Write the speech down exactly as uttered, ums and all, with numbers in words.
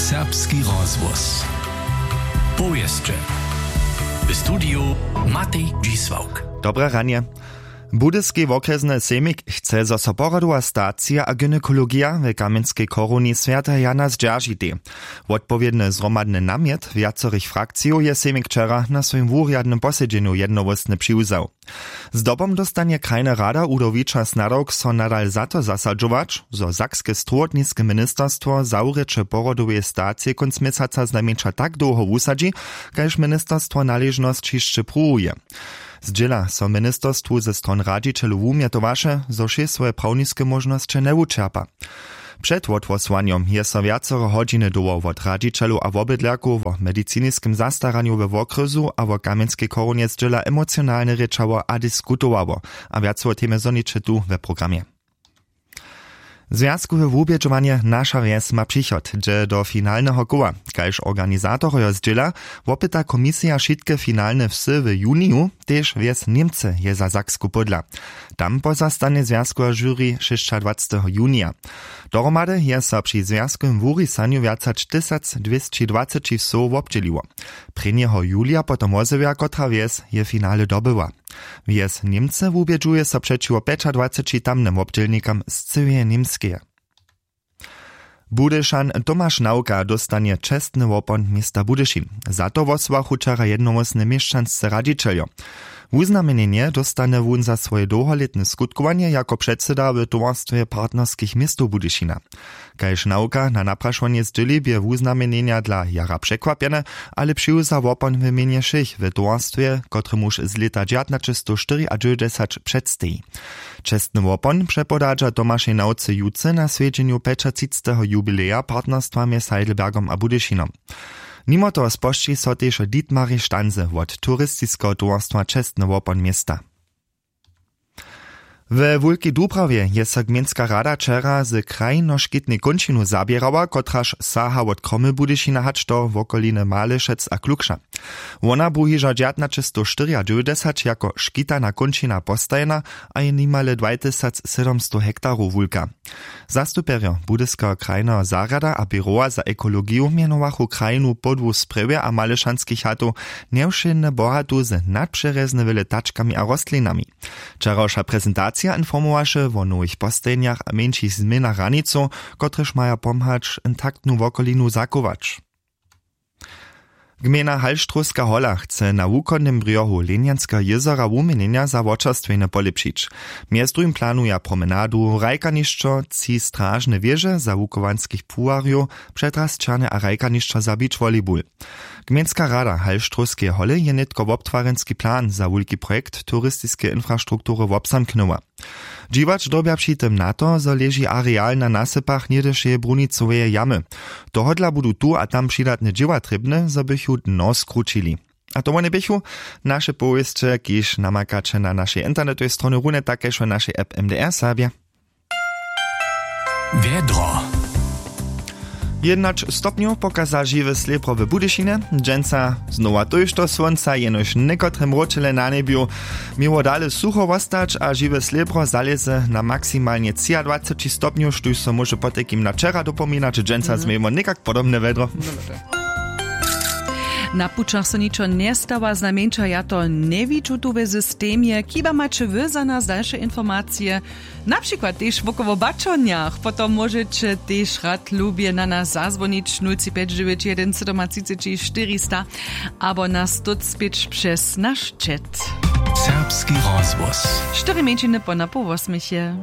Serbski rozhłos. Powěsće. W studiju Matej Dźisławk. Dobre ranje. Budyski wokrjesny sejmik chce, zo so porodowa stacija a gynekologija w Kamjenskej chorowni Swjateho Jana zdźeržitej. Wotpowědny zhromadny namjet wjacorych frakcijow je sejmik wčera na swojim wurjadnym posedźenju jednohłósnje přiwzał. Zdobom dóstanje krajna rada Udo Wičer snadawk, so nadal za to zasadźować, zo sakske strowotniske ministerstwo zawrěće porodoweje stacije kónc měsaca znajmjeńša tak dołho wusadźi, kaž ministerstwo naležnosć hišće pruwuje. Zdźěla so ministerstwu ze stron radźićelow wumjetowaše, zo wšě swoje prawniske móžnosće njewučerpa. Před wothłosowanjom je so wjacore hodźiny dołho wot radźićelow a wobydlerkow wo mediciniskem zastaranju we wokrjesu a wo Kamjenskej chorownje zdźěla emocionalnje rěčało a diskutowało. A wjace wo temje zhoniće tu we programje. Zwjazkowe wubědźowanje Naša wjes ma přichod dźe do finalneho koła. Kaž organizatorojo zdźěla, wopyta komisija wšitke finalne wsy w juniju. Tež wjes Němcy je za Saksku pódla. Tam pozastanje zwjazkowe žuri šěsćadwaceteho junija. Dohromady je so při zwjazkowym wurisanju wjac hač tysacdwěsćidwaceći wsow wobdźěliło. Prěnjeho julija potom wozjewja, kotra wjes je finale dobyła. Wjes Němcy wubědźuje so přećiwo pjećadwaceći tamnym wobdźělnikam z cyłeje Němskeje. Budyšan Tomaš Nawka dóstanje čestny wopon města Budyšin. Za to wosłachu wčera jednohłósnje měšćansce radźićeljo. Wuznamjenjenje dóstanje wón za swoje dołholětne skutkowanje jako předsyda w towarstwje partnerskich městow Budyšina. Kaž Nawka na naprašowanje zdźěli, bě wuznamjenjenja dla jara překwapjene, ale přiwza wopon w mjenje wšěch w towarstwje, kotremuž z lěta dźewjatnaćestowštyriadźewjećdźesać předsteji. Čestny wopon přepodadźa Tomašej Nawce jutře na swjedźenju pjećatřicteho jubileja partnerstwa mjez Heidelbergom a Budyšinom. Nimo toho spožči so tež Dietmarej Stanse wot turistiskeho towarstwa čestny wopon města. We Wulkej Dubrawje je so gmejnska rada wčera z krajinoškitnej kónčinu zaběrała, kotraž saha wot Kromy Budyšina hač do wokoliny Malešec a Klukša. Wona bu hižo dźewjatnaćestowštyriadźewjećdźesać jako škitana kónčina postajena a je nimale dwajtysacsydomstow hektarow wulka. Zastupjerjo Budyskeho krajneho zarjada a běrowa za ekologiju mjenowachu krajinu podłu sprjewje a malešanskich hatow njewšědne bohatu z nadpřerjezne wjele tačkami a rostlinami. Wčerawša prezentacija informowaše wo nowych postajenjach a mjeńšich změnach hranicow, kotrež maja pomhać intaktnu wokolinu zachować. Gmejna Halštrowska hola chce na wuchodnym brjohu Lenjanskeho jězora wuměnjenja za wočerstwjenje polěpšić. Mjez druhim planuja promenadu, hrajkanišćo, tři stražne wěže za wuchowanskich płuwarjow, přetrasćerny a hrajkanišćo za beach volleyball. Gmejnska rada Halštrowskeje holy je nětko wobtwarjenski plan za wulki projekt turistiskeje infrastruktury wobzamknyła. Dźiwać dyrbja při tym na to, zo leži areal na nasypach něhdyšeje brunicoweje jamy. Tohodla budu tu a tam přidatne dźěła trěbne, zo bychu dno skrućili. A to wone běchu naše powěsće, kiž namakaće na našej internetowej stronje runje tak kaž w našej app M D R Serbje. Wjedro. Jědnaće stopnjow pokaza žiwe slěbro w Budyšinje. Dźensa znowa tójšto słónca, jenož někotry mróčele na njebju. Měło dale sucho wostać a žiwe slěbro zalěze na maksimalnje třiadwaceći stopnjow, štóž so móže potajkim na wčera dopominać. Dźensa změjemo někak podobne wjedro. Na pućach so ničo njestawa, znajmjeńša ja to njewidźu tu we systemje. Chiba maće wy za nas dalše informacije, na přikład tež wokoło w baćonjach, potom móžeće tež rad lubje na nas zazwonić, nul tři pjeć dźewjeć jedyn sydomatřiceći štyrista, abo nas tuc pěć přez naš chat. Serbski rozhłos. Štyri mjeńšiny po napoł wosmich je.